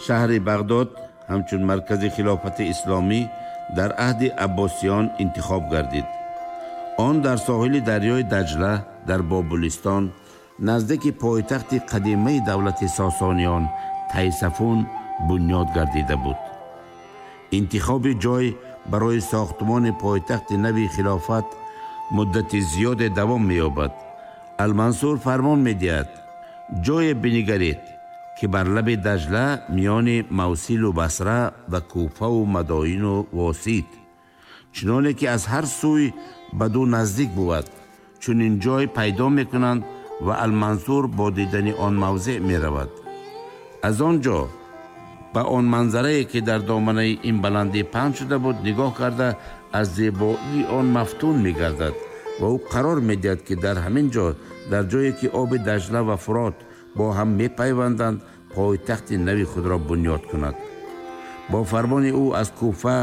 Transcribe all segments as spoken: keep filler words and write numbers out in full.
Шаҳри Бағдод ҳамчун маркази хилофати исломӣ дар аҳди Аббосиён интихоб гардид. Он дар соҳили дарёи Даҷла дар Бобулистон наздики пойтахти қадимаи давлати Сосониён Тайсафун бунёд гардида буд. Интихоби ҷой барои сохтмони пойтахти нави хилофат муддати зиёде давом меёбад. Алмансур фармон медиҳад: ҷое бинигаред, ки бар лаби Даҷла миёни Мавсилу Басра ва Куфаву Мадоину Восит, чуноне ки аз ҳар сӯй ба ду наздик бувад. Чунин ҷой пайдо мекунанд ва Алмансур бо дидани он мавзеъ меравад. Аз он ҷо ба он манзарае, ки дар доманаи ин баландӣ паҳн шуда буд, нигоҳ карда аз зебоии он мафтун мегардад ва ӯ қарор медиҳад, ки дар ҳамин ҷо, дар ҷое ки оби Даҷла ва Фурот бо ҳам мепайванданд, пойтахти нави худро бунёд кунад. Бо фармони ӯ аз Куфа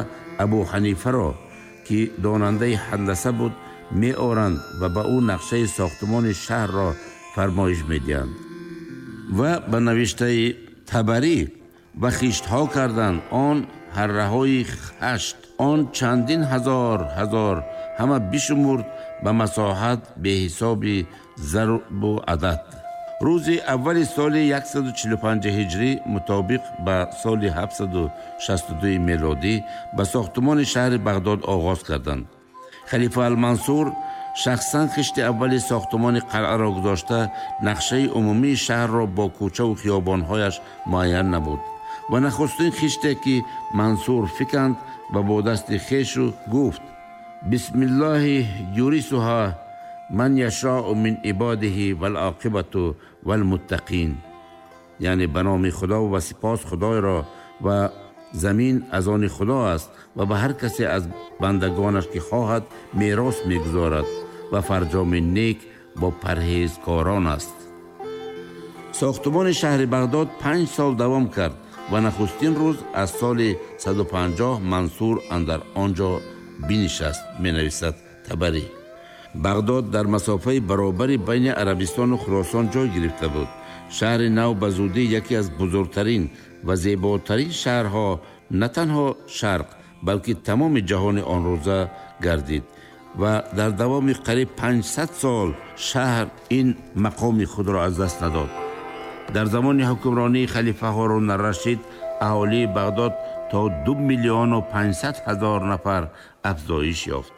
Абу Ҳанифаро, ки донандаи ҳандаса буд, меоранд ва ба ӯ нақшаи сохтмони шаҳрро фармоиш медиҳанд. Ва ба навиштаи Табарӣ ва хиштҳо карданд он ҳарраҳои хашт, он чандин ҳазор ҳазор ҳама бишумурд ба масоҳат беҳисоби зарбу адад. Рӯзи аввали соли яксаду чилу панҷ ҳиҷрӣ мутобиқ ба соли ҳафтсаду шасту ду мелодӣ ба сохтмони шаҳри Бағдод оғоз карданд. Халифа Алмансур шахсан хишти аввали сохтмони қалъаро гузошта, нақшаи умумии шаҳрро бо кӯчаву хиёбонҳояш муайян набуд ва нахустин хиште, ки Мансур фиканд ва бо дасти хешу гуфт: бисмиллоҳи юрисуҳа ман яшоу мин ибодиҳи валоқибату валмуттақин, яъне ба номи Худо ва сипос Худойро ва замин аз они Худо аст ва ба ҳар касе аз бандагонаш, ки хоҳад, мерос мегузорад ва фарҷоми нек бо парҳезкорон аст. Сохтмони шаҳри Бағдод панҷ сол давом кард ва нахустин рӯз аз соли саду панҷоҳ Мансур андар он ҷо бинишаст, менависад Табарӣ. Бағдод дар масофаи баробари байни Арабистону Хуросон ҷой гирифта буд. Шаҳри нав ба зудӣ яке аз бузургтарин ва зеботарин шаҳрҳо на танҳо шарқ, балки тамоми ҷаҳони он рӯза гардид ва дар давоми қариб панҷсад сол шаҳр ин мақоми худро аз даст надод. Дар замони ҳукмронии халифа Ҳорун ар-Рашид аҳолии Бағдод то ду миллиону панҷсад ҳазор нафар афзоиш ёфт.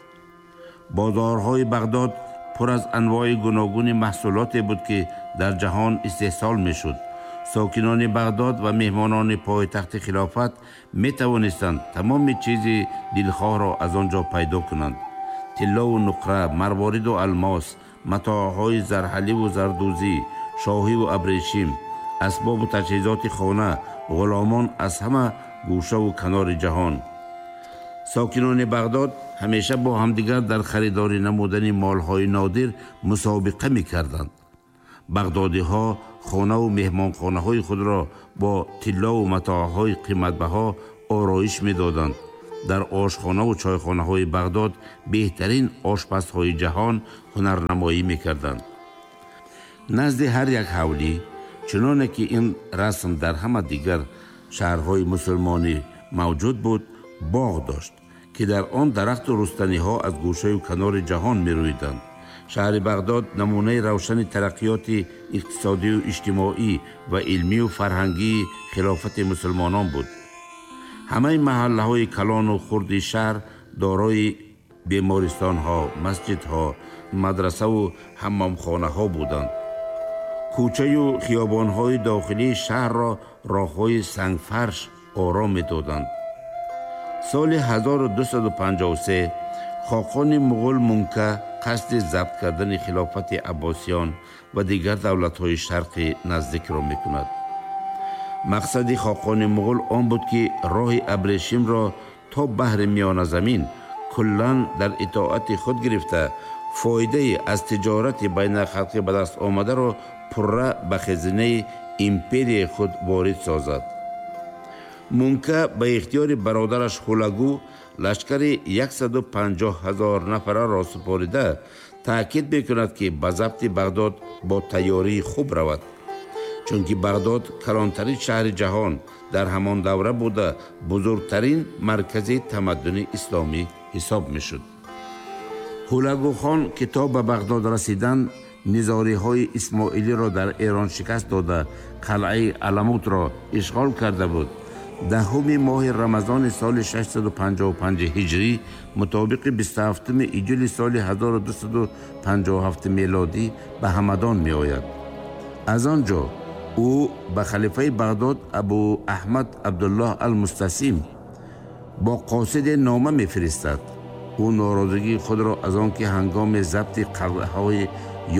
Бозорҳои Бағдод пур аз анвои гуногуни маҳсулоте буд, ки дар ҷаҳон истеҳсол мешуд. Сокинони Бағдод ва меҳмонони пойтахти хилофат метавонистанд тамоми чизи дилхоҳро аз он ҷо пайдо кунанд: тиллову нуқра, марвориду алмос, матоъҳои зарҳаливу зардӯзӣ, шоҳиву абрешим, асбобу таҷҳизоти хона, ғуломон аз ҳама гӯшаву канори ҷаҳон. Сокинони Бағдод ҳамеша бо ҳамдигар дар харидорӣ намудани молҳои нодир мусобиқа мекарданд. Бағдодиҳо хонаву меҳмонхонаҳои худро бо тиллову матоъҳои қиматбаҳо ороиш медоданд. Дар ошхонаву чойхонаҳои Бағдод беҳтарин ошпазҳои ҷаҳон ҳунарнамоӣ мекарданд. Назди ҳар як ҳавлӣ, чуноне ки ин расм дар ҳама дигар шаҳрҳои мусулмонӣ мавҷуд буд, боғ дошт, ки дар он дарахту рустаниҳо аз гӯшаю канори ҷаҳон мерӯиданд. Шаҳри Бағдод намунаи равшани тараққиёти иқтисодию иҷтимоӣ ва илмию фарҳангии хилофати мусулмонон буд. Ҳамаи маҳаллаҳои калону хурди шаҳр дорои бемористонҳо, масҷидҳо, мадрасаву ҳаммомхонаҳо буданд. Кӯчаю хиёбонҳои дохилии шаҳрро роҳҳои сангфарш ором медоданд. Соли ҳазору дусаду панҷоҳу се хоқони муғул Мунка қасди забт кардани хилофати Аббосиён ва дигар давлатҳои шарқи наздикро мекунад. Мақсади хоқони муғул он буд, ки роҳи абрешимро то баҳри Миёназамин куллан дар итоати худ гирифта, фоидаи аз тиҷорати байналхалқӣ ба даст омадаро пурра ба хазинаи империяи худ ворид созад. Мунка ба ихтиёри бародараш Ҳулагу лашкари яксаду панҷоҳ ҳазор нафараро супорида, таъкид мекунад, ки ба забти Бағдод бо тайёрии хуб равад. Чунки Бағдод калонтарин шаҳри ҷаҳон дар ҳамон давра буда, бузургтарин маркази тамаддуни исломӣ ҳисоб мешуд. Ҳулагухон ки то ба Бағдод расидан низориҳои исмоилиро дар Эрон шикаст дода, қалъаи Аламутро ишғол карда буд, даҳуми моҳи Рамазони соли шашсаду панҷоҳу панҷ ҳиҷрӣ мутобиқи бисту ҳафтуми июли соли ҳазору дусаду панҷоҳу ҳафт мелодӣ ба Ҳамадон меояд. Аз он ҷо ӯ ба халифаи Бағдод Абу Аҳмад Абдуллоҳ Алмустасим бо қосиде нома мефиристад. Ӯ норозигии худро аз он ки ҳангоми забти қалъаҳои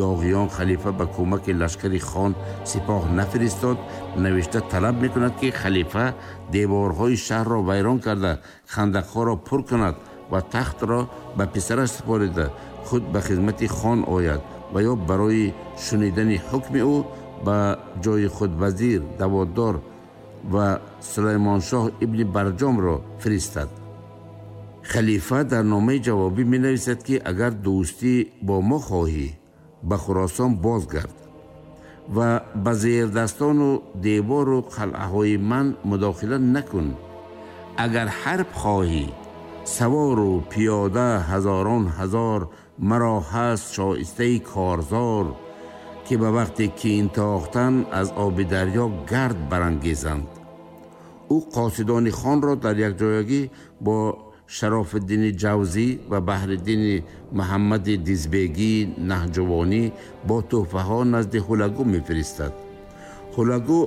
ёғиён халифа ба кӯмаки лашкари хон сипоҳ нафиристод, навишта талаб мекунад, ки халифа деворҳои шаҳрро вайрон карда, хандақҳоро пур кунад ва тахтро ба писараш супорида худ ба хизмати хон ояд ва ё барои шунидани ҳукми ӯ ба ҷои худ вазир, даводдор ва Сулаймоншоҳ ибни Барҷомро фиристад. Халифа дар номаи ҷавобӣ менависад, ки агар дӯстӣ бо мо хоҳӣ, ба Хуросон бозгард ва ба зердастону девору қалъаҳои ман мудохила накун. Агар ҳарб хоҳӣ, савору пиёда ҳазорон ҳазор маро ҳаст шоистаи корзор, ки ба вақти кин тохтан аз оби дарё гард барангезанд. Ӯ қосидони хонро дар якҷоягӣ бо Шарофиддини Ҷавзӣ ва Баҳриддини Муҳаммади Дизбегии Наҳҷувонӣ бо тӯҳфаҳо назди Ҳулагу мефиристад. Ҳулагу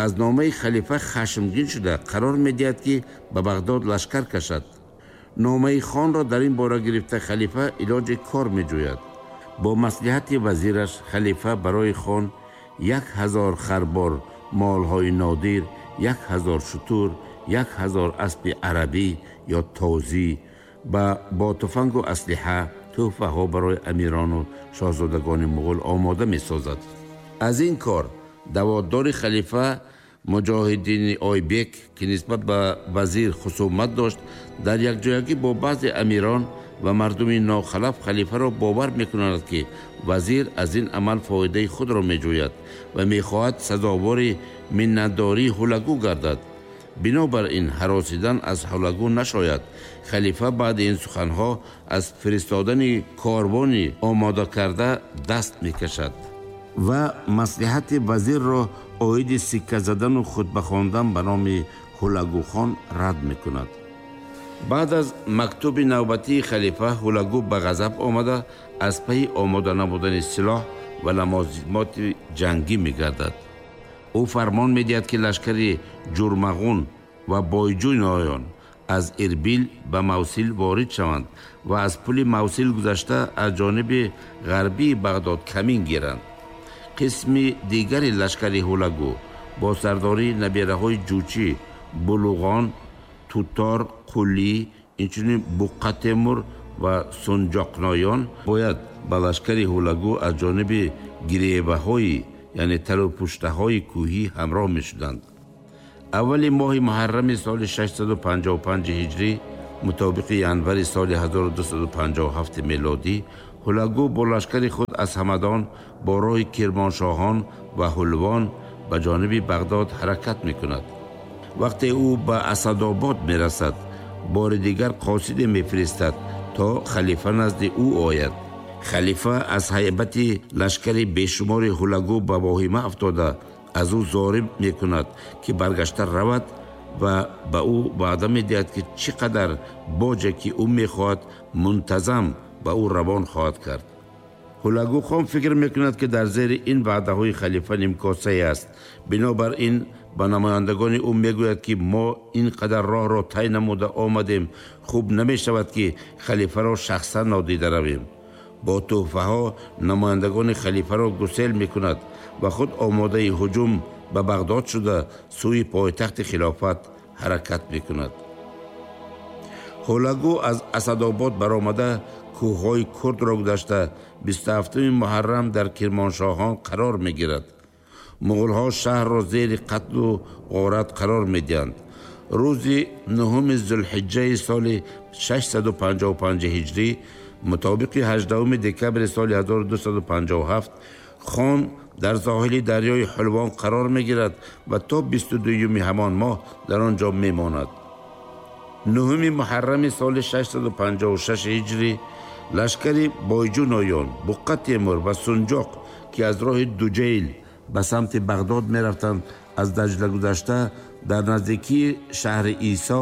аз номаи халифа хашмгин шуда қарор медиҳад, ки ба Бағдод лашкар кашад. Номаи хонро дар ин бора гирифта халифа илоҷи кор меҷӯяд. Бо маслиҳати вазираш халифа барои хон як ҳазор харбор молҳои нодир, як ҳазор шутур, як ҳазор аспи арабӣ ё тозӣ ва бо туфангу аслиҳа тӯҳфаҳо барои амирону шоҳзодагони муғул омода месозад. Аз ин кор даводдори халифа Муҷоҳиддини Ойбек, ки нисбат ба вазир хусумат дошт, дар якҷоягӣ бо баъзе амирон ва мардуми нохалаф халифаро бовар мекунанд, ки вазир аз ин амал фоидаи худро меҷӯяд ва мехоҳад сазовори миннатдории Ҳулагу гардад. Бинобар ин ҳаросидан аз Ҳулагу нашояд. Халифа баъди ин суханҳо аз фиристодани корвони омода карда даст мекашад ва маслиҳати вазирро оиди сикка задану хутба хондан ба номи Ҳулагухон рад мекунад. Баъд аз мактуби навбатии халифа Ҳулагу ба ғазаб омада аз пайи омода намудани силоҳ ва лавозимоти ҷангӣ мегардад. Ӯ фармон медиҳад, ки лашкари Ҷурмағун ва Бойҷӯйноён аз Ирбил ба Мавсил ворид шаванд ва аз пули Мавсил гузашта аз ҷониби ғарбии Бағдод камин гиранд. Қисми дигари лашкари Ҳулагу бо сардории набераҳои Ҷучӣ, Булуғон, Тутор, Қулӣ, инчунин Буққатемур ва Сунҷоқноён бояд ба лашкари Ҳулагу аз ҷониби гиреваҳои, яъне талупуштаҳои кӯҳӣ ҳамроҳ мешуданд. Аввали моҳи муҳаррами соли шашсаду панҷоҳу панҷ ҳиҷрӣ мутобиқи январи соли ҳазору дусаду панҷоҳу ҳафт мелодӣ Ҳулагу бо лашкари худ аз Ҳамадон бо роҳи Кирмоншоҳон ва Ҳулвон ба ҷониби Бағдод ҳаракат мекунад. Вақте ӯ ба Асадобод мерасад, бори дигар қосиде мефиристад то халифа назди ӯ ояд. Халифа аз ҳайбати лашкари бешумори Ҳулагу ба воҳима афтода аз ӯ зориб мекунад, ки баргашта равад ва ба ӯ ваъда медиҳад, ки чӣ қадар боҷе ки ӯ мехоҳад мунтазам ба ӯ равон хоҳад кард. Ҳулагухон фикр мекунад, ки дар зери ин ваъдаҳои халифа нимкосае аст. Бинобар ин ба намояндагони ӯ мегӯяд, ки мо ин қадар роҳро тай намуда омадем, хуб намешавад, ки халифаро шахсан нодида равем. Бо тӯҳфаҳо намояндагони халифаро гусел мекунад ва худ омодаи ҳуҷум ба Бағдод шуда сӯи пойтахти хилофат ҳаракат мекунад. Ҳулагу аз Асадобод баромада кӯҳҳои Курдро гузашта бисту ҳафтуми муҳаррам дар Кирмоншоҳон қарор мегирад. Муғулҳо шаҳрро зери қатлу ғорат қарор медиҳанд. Рӯзи нуҳуми зулҳиҷҷаи соли шашсаду панҷоҳу панҷ ҳиҷрӣ мутобиқи ҳаждаҳуми декабри соли ҳазору дусаду панҷоҳу ҳафт хон дар соҳили дарёи Ҳулвон қарор мегирад ва то бисту дуюми ҳамон моҳ дар он ҷо мемонад. Нуҳуми муҳаррами соли шашсаду панҷоҳу шаш ҳиҷрӣ лашкари Бойҷу Ноён, Буққа Темур ва Сунҷоқ, ки аз роҳи Дуҷайл ба самти Бағдод мерафтанд, аз Даҷла гузашта дар наздикии шаҳри Исо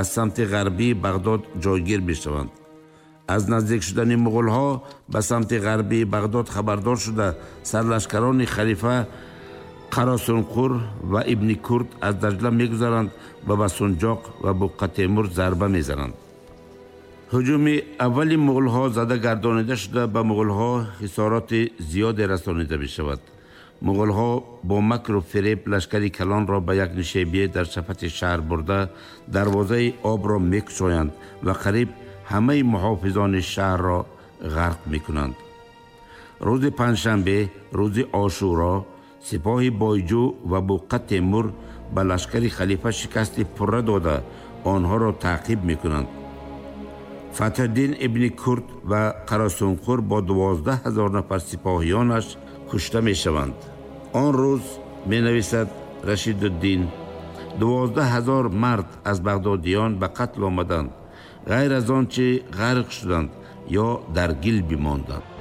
аз самти ғарбии Бағдод ҷойгир мешаванд. Аз наздик шудани муғулҳо ба самти ғарбии Бағдод хабардор шуда, сарлашкарони халифа Қарасунқур ва Ибни Курд аз Даҷла мегузаранд ва ба Сунҷоқ ва Буққа Темур зарба мезананд. Ҳуҷуми аввали муғулҳо зада гардонида шуда, ба муғулҳо хисороти зиёде расонида мешавад. Муғулҳо бо макру фиреб лашкари калонро ба як нишебие дар шафати шаҳр бурда, дарвозаи обро мекушоянд ва қариб ҳамаи муҳофизони шаҳрро ғарқ мекунанд. Рӯзи панҷшанбе, рӯзи Ошӯро, сипоҳи Бойҷӯ ва Буққа Темур ба лашкари халифа шикасти пурра дода, онҳоро таъқиб мекунанд. Фатҳиддин ибни Курд ва Қарасунқур бо дувоздаҳ ҳазор нафар сипоҳиёнаш кушта мешаванд. Он рӯз, менависад Рашидуддин, дувоздаҳ ҳазор мард аз бағдодиён ба қатл омаданд, ғайр аз он чи ғарқ шуданд ё дар гил бимонданд.